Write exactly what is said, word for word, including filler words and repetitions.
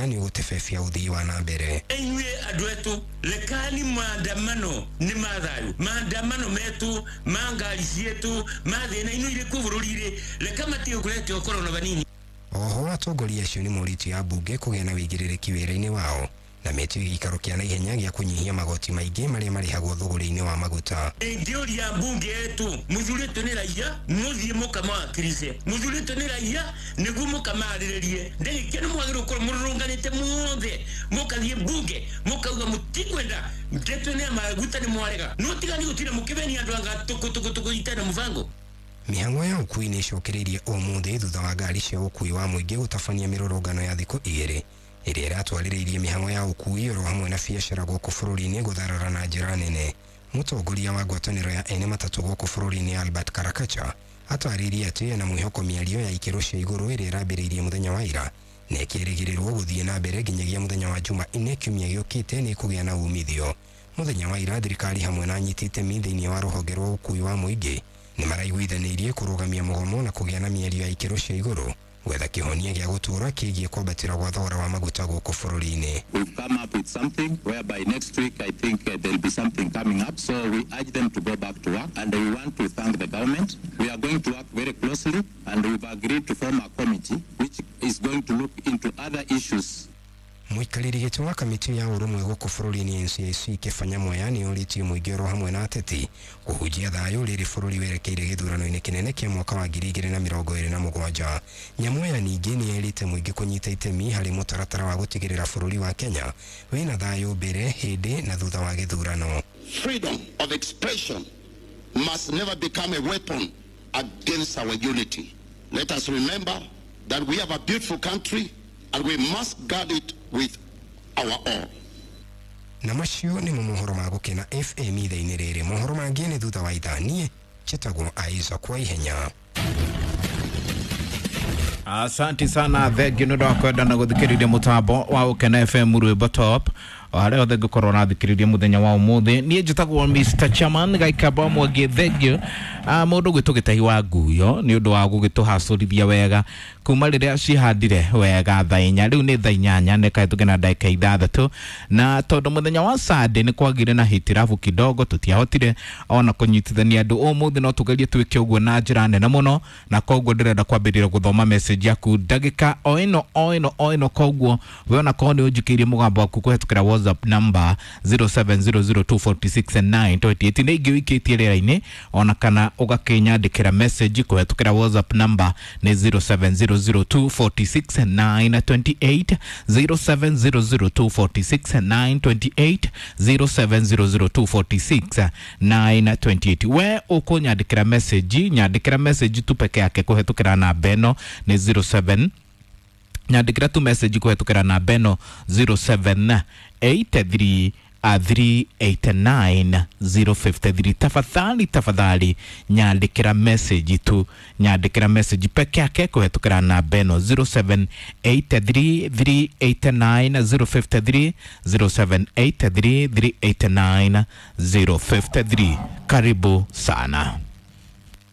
maguta nĩ ũgũtebebia ũthii wa na mbere. Inyuĩ andũ etu rekani maandamano nĩ ma thayũ, maandamano metu ma ngari cietu ma thĩna ino irĩ kuo bũrũri-rĩ, reka matige kũrete ũkorwo na vanini. Oho atongoria acio nĩ morĩtie ambunge kũgĩa na wĩigĩrĩrĩki wĩra-inĩ wao na metie gĩikaro kĩa naihenya gĩa kũnyihia magoti maingĩ marĩa marĩhagwo thũgũrĩ-inĩ wa maguta. Ingĩũria mbunge yetu mũthurĩtwo nĩ raia mũthiĩ mũkamawakilishe, mũthurĩtwo nĩ raia nĩguo mũkamarĩrĩrie. Ndagĩka nĩ mwagĩrĩirwo gũkorwo mũrũrũnganĩte mũothe mũkathiĩ mbunge mũkauga mũtikwenda ndeto nĩ ya maguta nĩ mwarega, no tiga nĩ gũtinda mũkĩmenia andũ anga tũkũ tũkũ tũkũ itarĩ na mũbango. Mĩhang'o ya ũkui nĩ ĩcokereirie ũmũthĩ thutha wa ngari cia ũkui wa mũingĩ gũtabania mĩrũrũngano ya thikũ igĩrĩ ĩrĩa ĩratwarĩrĩirie mĩhang'o ya ũkui oro hamwe na biacara gũkũ bũrũri-inĩ gũtharara na njĩra nene. Mũtongoria wa ngwatanĩro ya ene matatũ gũkũ bũrũri-inĩ Albert Karakacha atarĩirie atĩ ena mwĩhoko mĩario ya ikĩro cia igũrũ ĩrĩa ĩrambĩrĩirie mũthenya wa ira na ĩkĩrĩgĩrĩrwo gũthiĩ na mbere nginyagia mũthenya wa Jumanne kiumia gĩũkĩte nĩ ĩkũgĩa na umithio. Mũthenya wa ira thirikari hamwe na anyiti itemi thĩinĩ wa rũhonge rwa ũkui wa mũingĩ nĩ maraiguithanĩirie kũrũgamia mũgomo na kũgĩa na mĩario ya ikĩro cia igũrũ gwetha kĩhonia gĩa gũtũũra kĩgiĩ kwambatĩra gwa thogora wa maguta gũkũ bũrũri-inĩ. We've come up with something whereby next week I think uh, there'll be something coming up, so we urge them to go back to work, and we want to thank the government. We are going to work very closely, and we've agreed to form a committee which is going to look into other issues. Mũikarĩri gĩtĩ wa kamĩtĩ ya ũrũmwe gũkũ bũrũri-inĩ N C I C Kĩba Nyamweya nĩ orĩtie mũingĩ oro hamwe na ateti kũhunjia thayũ rĩrĩ bũrũri werekeire gĩthurano-inĩ kĩnene kĩa mwaka wa ngiri igĩrĩ na mĩrongo ĩrĩ na mũgwanja. Nyamweya ningĩ nĩ erĩte mũingĩ kũnyita itemi harĩ mũtaratara wa gũtigĩrĩra bũrũri wa Kenya wĩna thayũ mbere, hĩndĩ na thutha wa gĩthurano. Freedom of expression must never become a weapon against our unity. Let us remember that we have a beautiful country and we must guard it with our all. Na macio nĩ mohoro ma Gũkena F M ithaa-inĩ rĩrĩ. Mohoro mangĩ nĩ thutha wa ithaa. Niĩ njĩtagwo Isaac wa Ihenya. Asante sana, thengiũ nĩ ũndũ wa kwenda na gũthikĩrĩria mũtambo wa Gũkena F M rwĩmbo top. O harĩa hothe ngũkorwo ũrathikĩrĩria mũthenya wa ũmũthĩ. Niĩ njĩtagwo Mister Chairman Gaikamba Mwangi, thengiũ. Ah, mũndũ gwĩtwo Gĩtahi wa Nguyo nĩ ũndũ wa gũgĩtũhacũrithia wega kuma rĩrĩa cihandire wega thaa inya, rĩu nĩ thaa inyanya nĩ kahĩtũke na ndagĩka ithathatũ, na tondũ mũthenya wa Sunday nĩ kwagire na hitirabu kidogo tũtiahotire ona kũnyitithania andũ. Ũmũthĩ no tũgerie twĩke ũguo na njĩra nene mũno, na koguo ndĩrenda kwambĩrĩria gũthoma message yaku ndagĩka o ĩno o ĩno o ĩno. Koguo we ona korwo nĩ ũnjikĩirie mũgambo waku kũhetũkĩra WhatsApp number zero seven zero zero two four six nine two eight nĩ ingĩ ũikĩtie rĩera-inĩ, ona kana ũgakĩnyandĩkĩra message kũhetũkĩra WhatsApp number nĩ zero seven zero zero two four six nine two eight, zero seven zero zero two four six nine two eight, zero seven zero zero two four six nine two eight. We ũkũnyandĩkĩra message, nyandĩkĩra message tu peke yake kũhetũkĩra namba ĩno nĩ zero seven, nyandĩkĩra tu message kũhetũkĩra namba ĩno zero seven eight three three eight nine zero five three. Tafadhali, tafadhali nyandĩkĩra message tu, nyandĩkĩra message peke yake kũhetũkĩra namba ĩno zero seven eight three three eight nine zero five three, zero seven eight three three eight nine zero five three. Karibu sana.